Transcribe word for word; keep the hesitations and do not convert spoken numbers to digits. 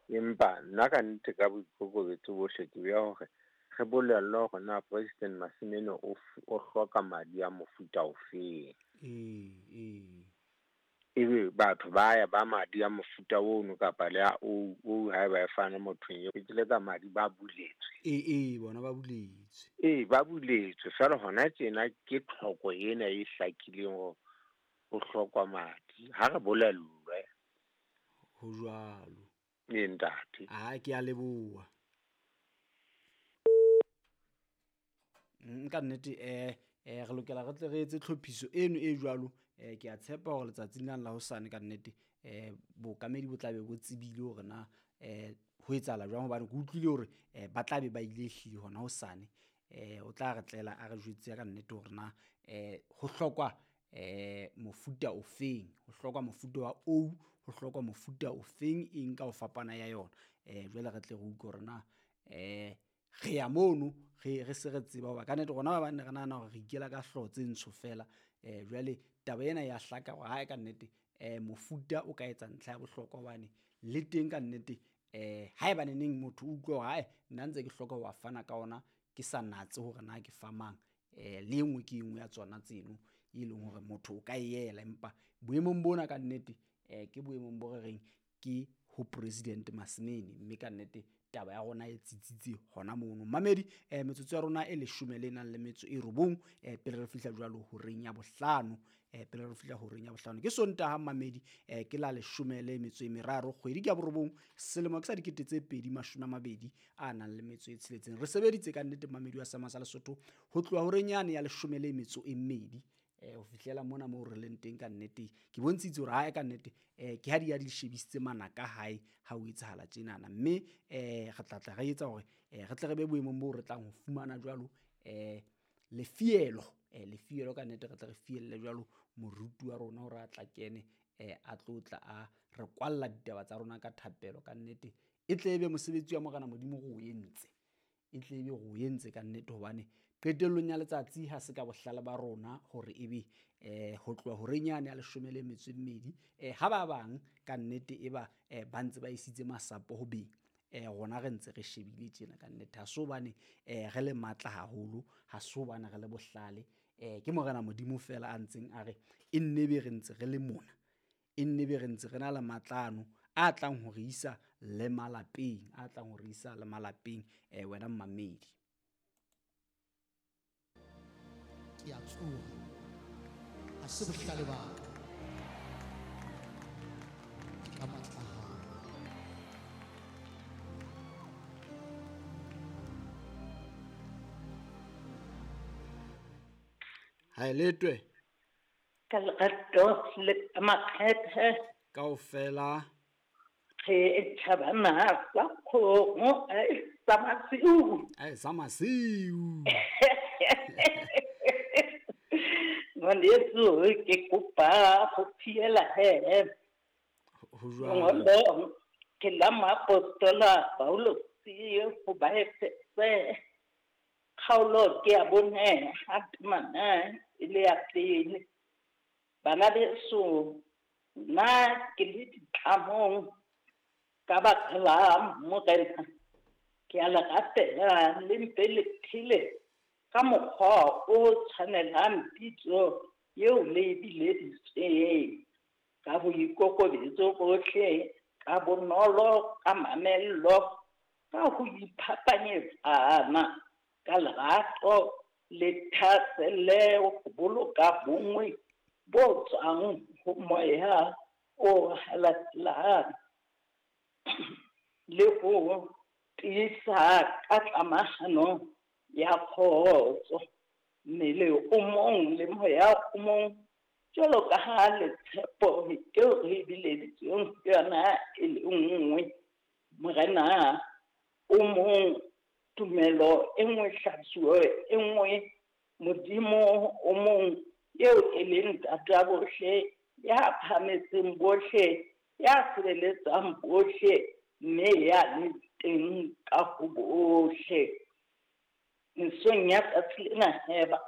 Empa nna ka nnete ka boikokobetso bohle ke beha hore re bolellwe hore na President Masimene o o hloka madi a mofuta ofeng. Ee, ee. Ebe batho ba ya ba madi a mofuta ono kapa le a oo oo haeba e fane mothong eo ke ka madi ba buletswe. Ee, ee, bona ba buletswe. Ee, ba buletswe feela hona tjena ke tlhoko ena e hlakileng hore ho hlokwa madi. Ha re bolellwe. Ho jwalo. Ee, ntate. Ah, ke a leboha. Nka nnete eh eh re lokela re tle re etse tlhophiso eno e jwalo. Eh ke a tshepa hore letsatsing lena la hosane ka nnete eh bookamedi bo tla be bo tsebile hore na eh ho etsahala jwang, hobane ke utlwile hore eh ba tla be ba ile ehlile hona hosane. Eh o tla re tlela a re jwetse ka nnete hore na eh ho hlokwa eh mofuta ofeng, ho hlokwa mofuta wa O, ho hlokwa mofuta ofeng eng ka ho fapana ya yona. Eh jwale re tle re utlwe hore na eh re ya mono re re se re tseba hoba ka nnete rona ba bang ne re nahana hore re ikela ka hlooho tse ntsho fela. Eh jwale taba ena ya hlaka hore hae ka nnete eh mofuta o ka etsa ntlha ya bohlokwa, hobane le teng ka nnete eh haeba neneng motho o utlwa hore hae nna ntse ke hloka ho fana ka ona, ke sa natse hore na ke fa mang. Eh le engwe ke engwe ya tsona tseno e leng hore motho o ka e ela, empa boemong bona ka nnete eh ke boemong bo re reng ke ho President Masimene, mme ka nnete taba ya rona e tsitsitse hona mono. Mamedi eh metsotso ya rona e leshome le nang le metso e robong eh pele re fihla jwalo horeng ya bohlano, eh pele re fihla horeng ya bohlano ke Sontaha mamedi eh ke la leshome le metso e meraro kgwedi ke ya borobong selemo ke sa dikete tse pedi mashome a mabedi a nang le metso e tsheletseng. Re sebeditse ka nnete mamedi wa Sama sa Lesotho ho tloha horeng yane ya leshome le metso e mmedi eh ho fihlela mona moo re leng teng. Ka nnete ke bontshitse hore hae ka nnete eh ke ha di ya di shebisitse manaka hae ha o etsahala tjenana, mme eh re tla tla re etsa hore eh re tle re be boemong bo re tlang ho fumana jwalo eh lefielo eh lefielo ka nnete re tle re fielle jwalo moruti wa rona hore a tla kene eh a tlo tla a re kwalla ditaba tsa rona ka thapelo. Ka nnete e tle ebe mosebetsi wa Morena Modimo re o entse, e tle ebe re o entse ka nnete, hobane qetellong ya letsatsi ha se ka bohlale ba rona hore ebe eh ho tloha horeng yane ya leshome le metso e mmedi eh ha ba bang ka nnete e ba eh ba ntse ba isitse masapo ho beng, eh rona re ntse re shebile tjena ka nnete. Ha se hobane eh re le matla haholo, ha se hobane re le bohlale, eh ke Morena Modimo fela a ntseng a re e nne be re ntse re le mona, e nne be re ntse re na le matlano a tlang ho re isa le malapeng, a tlang ho re isa le malapeng eh wena mmamedi. Ke a tsoha, ha se bohlale ba ka, ke ka matla a hao. Ha e letwe ka lerato le ka makgethe kaofela re tjhabana sa kgomo a e sa masiu, a e sa masiu. Ngwaneso ke kopa ho fiela he ho jwalo ke la moapostola Paulosi ho Baefese kgaolo ke ya bone ha temana e le ya pele. Bana beso, nna ke le ditlamong ka baka la Morena, ke a le rapela le mpe le phele ka mokgwa o tshwanelang pitso eo le e bileditsweng, ka boikokobetso bohle, ka bonolo, ka mamello, ka ho iphapanyetsana, ka lerato le thahasello ho boloka bonngwe bo tswang ho moya o halalelang le ho tiisa ka tlamahano ya kgotso. Mmele o mong le moya o mong, jwalo ka ha le tshepo eo re e bileditsweng ke yona e le nngwe. Morena o mong, tumelo e nngwe, hlatsuo e nngwe, Modimo o mong eo e leng Ntata bohle, ya phahametseng bohle, ya sireletsang bohle, mme ya le teng ka ho bohle. Mesong ya tsatsi lena he ba